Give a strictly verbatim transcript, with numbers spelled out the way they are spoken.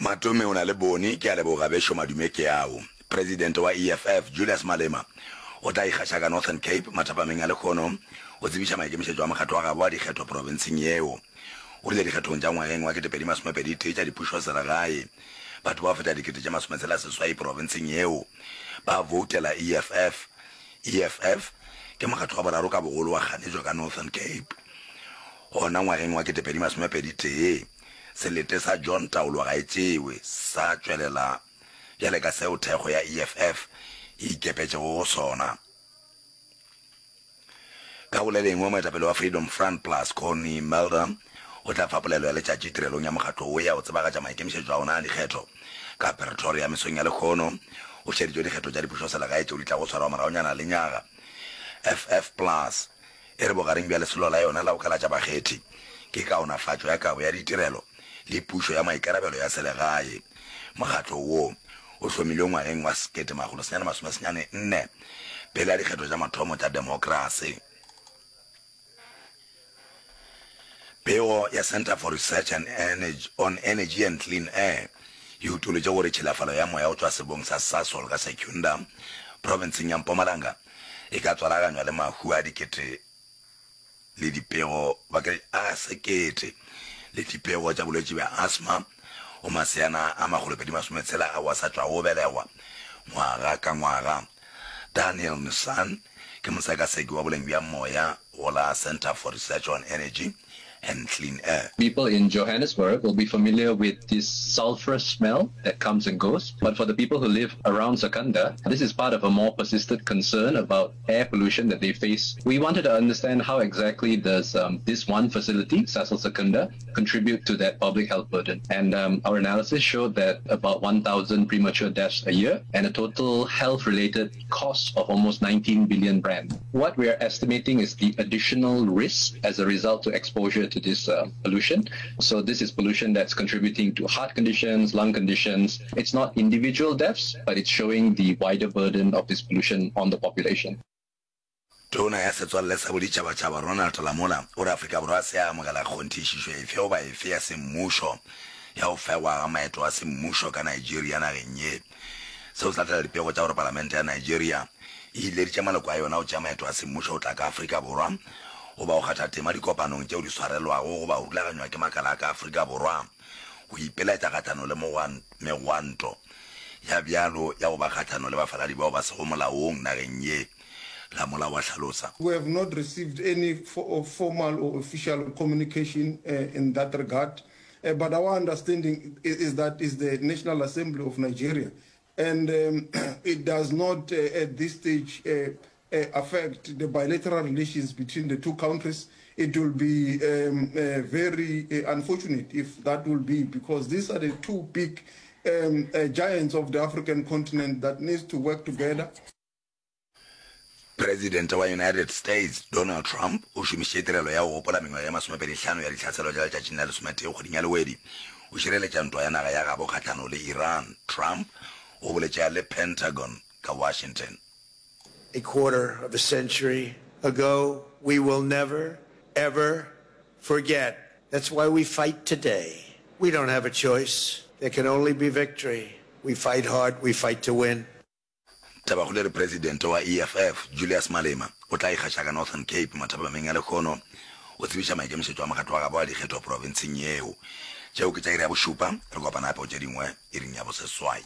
Matome o na le bone, ke a leboga bešo madume ke ao. Presidente wa E F F Julius Malema o tla ikgaša ka Northern Cape mathapameng a lekgono o tsebiša maikemišetšo a mokgatlo wa gabo a dikgetho profenseng yeo. O rile dikgethong tša ngwageng wa ketepedi masomepedi tee tša dipušoselegae, batho ba go feta dikete tše masometshela seswai profenseng yeo ba voutela E F F. E F F ke mokgatlo wa boraro ka bogolo wa kganetšo ka Northern Cape. Gona ngwageng wa ketepedi masomepedi tee, selete sa John Taolo ga e tšewe sa tšwelela bjale ka seo thekgo ya E F F e ikepetšego go sona. Ka go le lengwe, moetapele wa Freedom Front Plus Connie Mulder o tla fa polelo ya letšatši tirelong ya mokgatlo wo ya go tsebagatša maikemišetšo a ona a dikgetho ka Pretoria mesong ya lekgono. O šeditšwe dikgetho tša dipušoselegae tšeo di tlago swarwa moragonyana le nyaga. F F Plus e re bogareng bja lesolo la yona la go kalatša bakgethi ke kaonafatšo ya kabo ya ditirelo le pušo ya maikarabelo ya selegae. Mokgatlo wo o hlomilwe ngwageng wa sekete makgolo senyane masome senyane nne pele ya dikgetho tša mathomo tša demokrasi. Pego ya Center for Research and Energy, on Energy and Clean Air e utolotše gore tšhilafalo ya moya go tšwa sebong sa Sasol ka Secunda profenseng ya Mpumalanga e ka tswalaganywa le mahu a dikete le dipego a sekete le dipego tša bolwetši bja asthma go maseana a makgolopedi masometshela ao a sa tšwago go belegwa ngwaga ka ngwaga. Daniel Nissan ke mosekaseki wa boleng bja moya go la Center for Research on Energy and Clean Air. People in Johannesburg will be familiar with this sulfurous smell that comes and goes. But for the people who live around Secunda, this is part of a more persistent concern about air pollution that they face. We wanted to understand how exactly does um, this one facility, Sasol Secunda, contribute to that public health burden. And um, our analysis showed that about one thousand premature deaths a year and a total health-related cost of almost nineteen billion rand. What we are estimating is the additional risk as a result to exposure to this uh, pollution. So this is pollution that's contributing to heart conditions, lung conditions. It's not individual deaths, but it's showing the wider burden of this pollution on the population. Tona ya Setswalle sa Boditšhabatšhaba Ronald Lamola o re Afrika Borwa se a amogela kgonthišišo efe goba efe ya semmušo ya go fegwa ga maeto a semmušo ka Nigeria nageng ye. Seo se latela dipego tša gore palamente ya Nigeria e ileditše maloko a yona go tšea maeto a semmušo go tla ka Afrika Borwa goba go kgatha tema dikopanong tšeo di swarelwago goba go rulaganywa ke makala a ka Afrika Borwa go ipeletša kgahlano le megwanto ya bjalo ya go ba kgahlano le bafaladi bao ba sego molaong nageng ye. Lamola wa hlalosa. We have not received any fo formal or official communication uh, in that regard. Uh, but our understanding is, is that is the National Assembly of Nigeria. And um, it does not, uh, at this stage, uh, uh, affect the bilateral relations between the two countries. It will be um, uh, very uh, unfortunate if that will be, because these are the two big um, uh, giants of the African continent that needs to work together. Presidente wa United States Donald Trump o šomišitše tirelo ya go gopola mengwaga ye masomepedi hlano ya ditlhaselo tša letšatšing la lesometee kgweding ya Lewedi o šireletša ntwa ya naga ya gabo kgahlano le Iran. Trump o boletše a le Pentagon ka Washington. A quarter of a century ago, we will never, ever forget. That's why we fight today. We don't have a choice. There can only be victory. We fight hard, we fight to win. Tabakgolo e re Presidente wa E F F Julius Malema o tla ikgaša ka Northern Cape mathapameng a lekgono o tsebiša maikemišetšo a mokgatlo wa gabo a dikgetho profenseng yeo. Tšeo ke tša iri ya bošupa, re kopana gape go tše dingwe iring ya boseswai.